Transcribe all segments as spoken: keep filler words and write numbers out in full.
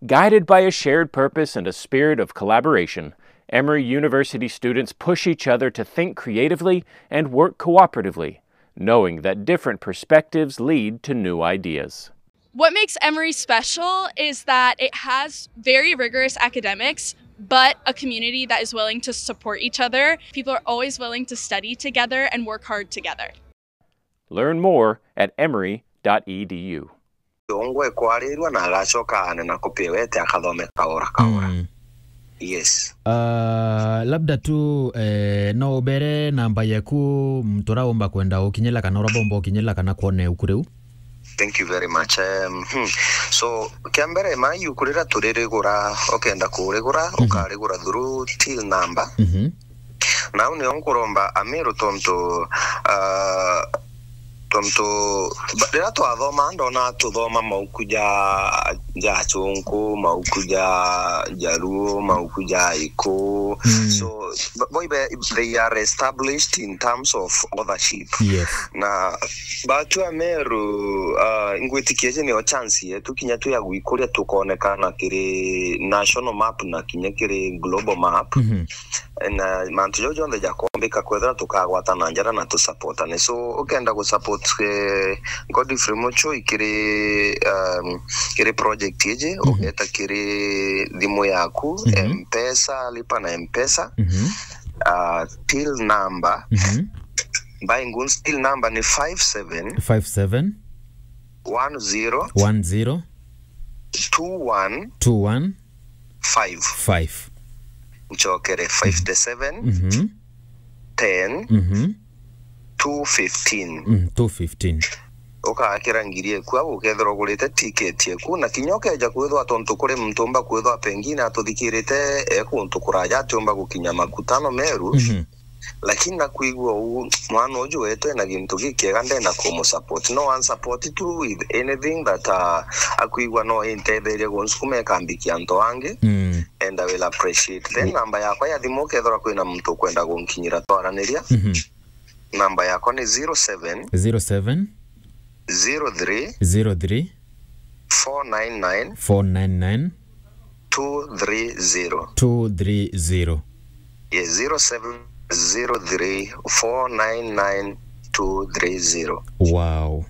Guided by a shared purpose and a spirit of collaboration, Emory University students push each other to think creatively and work cooperatively, knowing that different perspectives lead to new ideas. What makes Emory special is that it has very rigorous academics, but a community that is willing to support each other. People are always willing to study together and work hard together. Learn more at emory dot e d u. Ongwe kwarirwa na agacoka anena kupiwete akathome kaora kaora. Mm. Yes. Ah, labda tu, eh, no ubere namba yaku, mtu uraumba kwenda ukinyila kana urabomba ukinyila kana kwone ukuriu? Thank you very much. Um, hmm. So, kia mbere, mai ukurira turirigura, ukenda kurigura, Mhm. ukarigura through till number. Mhm. Nau nio nkuromba Amiru tontu, ah, tontu ba-, riria twathoma, ndona tuthoma mauku ja, ja Achunku, mauku ja Jaluo, mauku ja Iku. Mm. So, ba-, bo ibe, they are established in terms of authorship. Yes. Na batu Ameru, ah, ngwitikia iji nio chance yetu kinya twi ya gwikuria tukonekana kiri national map na kinya kiri global map. Mhm. Na mantu jau jonthe jakombika kwethira tukagwatana njara na tusupportane. So, ukenda gusupport, eh, Godfrey Muchoi kiri, um, kiri project iji, Mhm. ugeta kiri thimu yaku, Mhm. M-Pesa, lipa na M-Pesa. Mhm. Ah, till number. Mhm. By Nguns, till number ni five seven Five seven. one zero One zero. two one Two one. five. Five. Nchokere, fifty-seven, Mhm. ten, Mhm. two fifteen. Mm, two fifteen. Ukakira ngiri eku au ukethirwa ugurite ticket eku, na kinya ukeja kwithwa tontu kuri muntu umba kwithwa pengine atuthikirite e kuntu kuraja atiumba gukinya makutano meru, Mhm. lakini nakwigua uu mwana uju wetu ena gintu gikiega, ndenda kumusupport. No unsupport tu with anything that, uh, akwigua no intetherie gunsukuma ikambikia antu angi, Mm. and I will appreciate. Then Ye- namba yakwa ya thimu, ukethirwa kwina muntu ukwenda gunkinyira twaraniria, Mhm. namba yakwa ni zero seven Zero seven. zero three Zero three. four nine nine Four nine nine. two three zero. Two three zero. Yes, zero seven zero three four nine nine two three zero. Wow.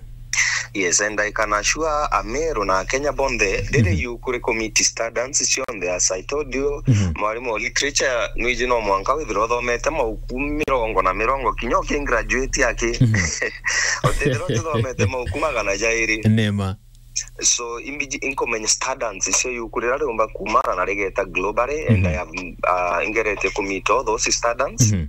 Yes, and I can assure Ameru na Akenya bonthe, riri Mhm. you kuri commit standards cionthe, as I told you, Mhm. mwarimu wa literature, nwiji no mwanka withirwa uthomete mauku mirongo na mirongo, kinya uki graduate aki. Mhm. Utithirwa uthomete mauku magana jairi. Nema. So, imbiji inkumenya standards icio yuku riria riumba kumana na rigeta globally, and Mhm. I have, uh, ingerete ku meet all those standards. Mhm.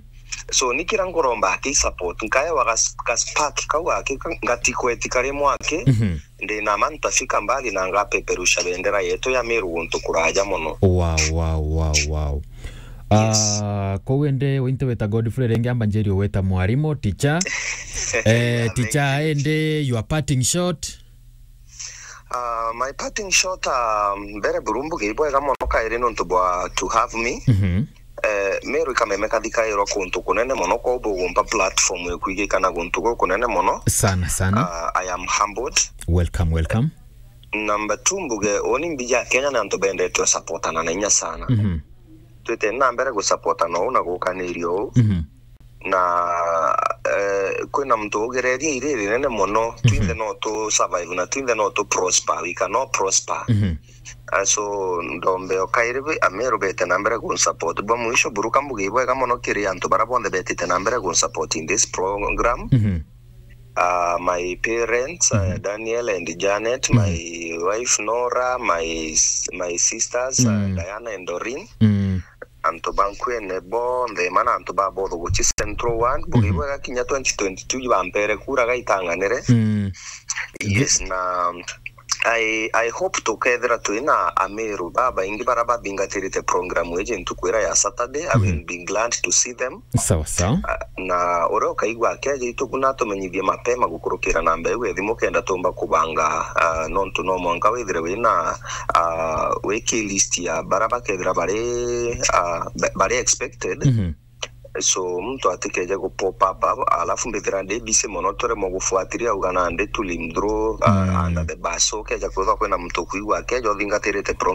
So, ni kira nguromba aki support, nkaewa gas-, ga spark kau aki, ngatikweti kari mwaki, Mhm. ndina ma ntafika mbali na ngapeperusha bendera yetu ya Meru guntu kuraja mono. Wow, wow, wow, wow. Yes. Ah, kou indi winte wita Godfrey, ringi amba njiri wita mwarimu, teacher. Eh, Yeah, teacher, thank you. Indi your parting shot? Uh, my parting shot, um, mbere buru mbuge ibwega mono kairi nontu bwa to have me. Mhm. Eh, Meru ikameme kathikairwa kuntu kunene mono, kwou bugumpa platform ikwigikana guntu gukunene mono. Sana, sana. Uh, I am humbled. Welcome, welcome. Number two, mbuge, uni mbija Kenya ni antu bendetwe supportana na inya sana. Mhm. Twite na mbere gusupportana uu na gukaniria uu. Mhm. Na, eh, kwina muntu ugereria iri rinene mono, Mhm. twinthe no tu survive na twinthe no tu prosper, we cannot prosper. Mhm. Ah, so, ndombe o kairi bi, Ameru bete na mbere gun support. Bwa mwisho, buruka mbuge ibwega mono kiri antu bara bonthe betite na mbere gun support in this program. Mhm. Ah, my parents, ah, Mhm. Daniel and Janet, Mhm. my wife Nora, my s-, my sisters, ah, Mm. Diana and Doreen. Mm. Antu ba nkwene bonthe, mana antu ba botho guchi Central Ward, mbuge Mhm. ibwega kinya twenty twenty-two bampere kura gaitang'anire. Mm. Yes, na I, I hope tukethira twina Ameru babaingi bara bathingatirite program iji ntuku ira ya Saturday. I will Mhm. be glad to see them. Sawa, sawa. Ah, na uria ukaigua akeja itu kuna atumenyithie mapema gukurukira namba iu ya thimu kenda tumba kubanga, ah, nontu no mwanka withire wina, ah, wiki list ya bara bakethira bari, ah, ba-, bari expected. Mhm. So, muntu atikeje gu pop up, alafu mbithira ndi busy mono, turemwe gufuatilia, auga nandi to limb through, uh, Mm. under the bus. So, ukeja kwithwa kwina muntu ukwigua akeja uthingatirite program